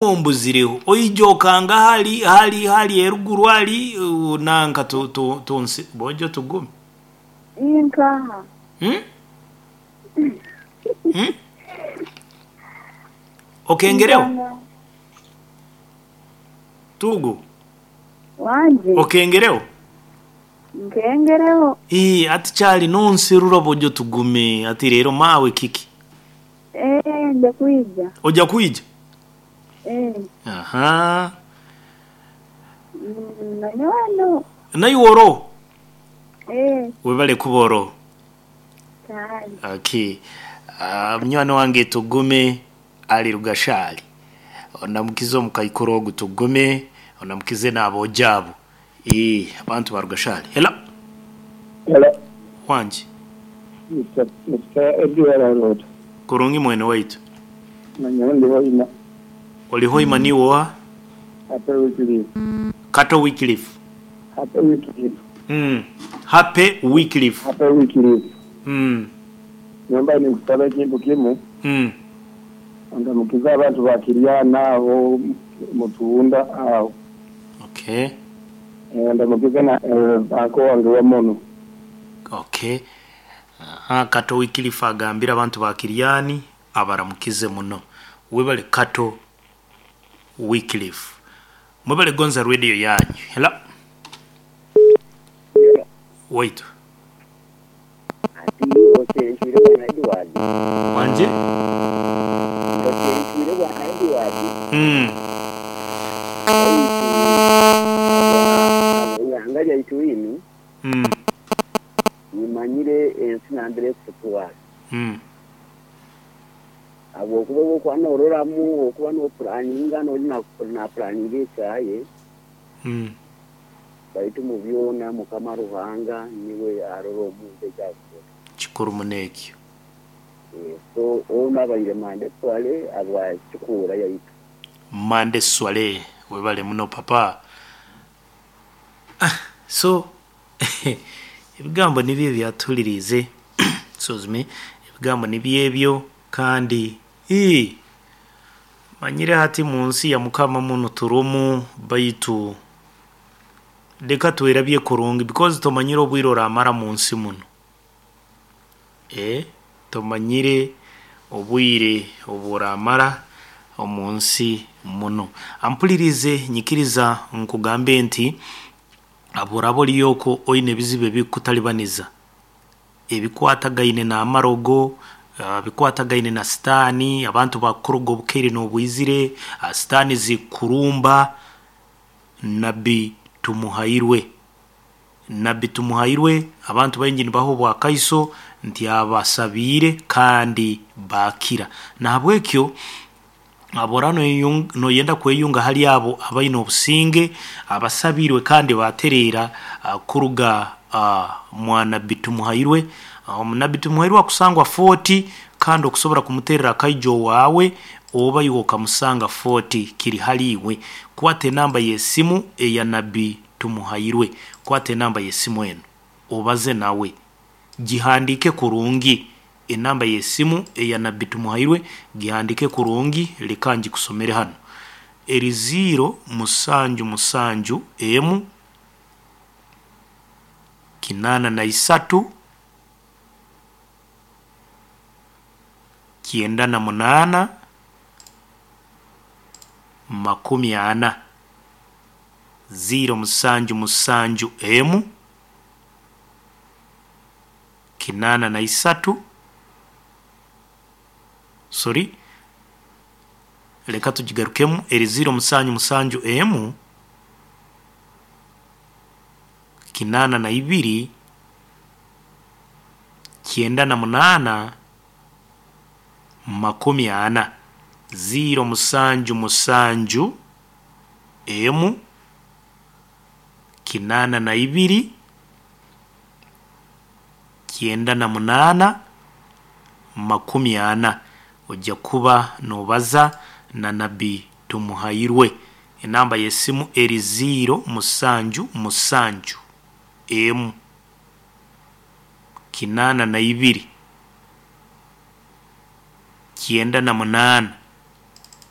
Ombuzireho oija okanga hali hali hali eruguru hali nanka tonsi bojo tugume. Inkaha. Hmm? Hmm? Okengereho? Tugu. Wangi. Okengereho? Nkengereho. Ii, ati kyali nonsirura bojo tugume ati leero maawe kiki? Eeh nja kwija. Oja kwija? Eeh. Ahaa. Nanyowe ndoho. Naiwe oroho? Eeh. Webale kuba oroho. Kale. Okay. Munywani wange Tugume ali Rugashali. Onamukize omukaikuru ogu Tugume, onamukize n'aboojo abo. Eeh, abantu ba Rugashali. Hello. Hello. Wangi. Mister Edward Arota. Kurungi mwene waitu. Nanyowe ndi Hoima. Oli Hoima niiwe oha? Happy Wycliffe. Kato Wycliffe. Happy Wycliffe. Happy Wycliffe. Happy Wycliffe. Nyomba ninkusaba ekintu kimu. Ondamukize abantu ba Kiryana agho Mutunda agho. Okay. Ondamukize na anko wange Wamono. Okay. Aha, Kato Wycliffe agambire abantu ba Kiryani abaramukize muno. Webale Kato Wycliffe. Mwebale gonza radio yanyu. Hello. Waitu. Ati osenkire bwana Edward. Wanje? Osenkire bwana Edward. Ihanga lyaitu linu nimanyire ensi nambere ekututwara. Habwokuba obu okuba nororamu okuba nopuraninga nori napuraninga ekyaye baitu mu byona Mukama Ruhanga niwe arora omuntu eki akukora. Kikuru muno ekyo. So onu abaire Mande Swale abwa Kikuura yaitu. Mande Swale webale muno papa. So ebigambo nibyo ebyo atuhuliriize excuse me, ebigambo nibyo ebyo kandi manyire hati munsi ya Mukama munu turumu baitu leka twerabye kurungi because tomanyire obwire oramara munsi muno. Tomanyire obwire obu oramara omunsi muno. Ampulirize nyikiriza nkugambe nti bworaba oriyo okwo oine ebizibu ebikukutalibaniza ebikwatagaine n'amarogo, bikwatagaine na sitaani, abantu bakukuroga obukaire n'obwizire, sitaani zikukurumba, Nabbi Tumuhairwe. Nabbi Tumuhairwe abantu baingi nibaha obwakaiso nti abasabiire kandi baakira. Nahabwekyo bworaba noyenda kweyunga hali abo abaine obusinge, abasabiirwe kandi baatereera kuruga mwa Nabbi Tumuhairwe. Nabbi Tumuhairwe akusangwa Fort kandi okusobora kumuterra akaija owaawe oba iwe okamusanga Fort kiri hali iwe. Kwata enamba y'esimu eya Nabbi Tumuhairwe, kwata enamba y'esimu enu obaze nawe, gihandiike kurungi enamba y'esimu eya Nabbi Tumuhairwe gihandiike kurungi leka ngikusomere hanu. Eri ziiro musanju musanju emu, kinaana na isatu, kyenda na munaana, makumi ana. Ziiro musanju musanju emu, kinaana na isatu, sorry, leka tugigarukemu eri ziiro musanju musanju emu, kinaana na ibiri, kyenda na munaana, makumi ana. Ziiro musanju musanju emu, kinaana na ibiri, kyenda na munaana, makumi ana. Ojja kuba nobaza na Nabbi Tumuhairwe. Enamba y'esimu eri ziiro musanju musanju emu, kinaana na ibiri, kyenda na munaana.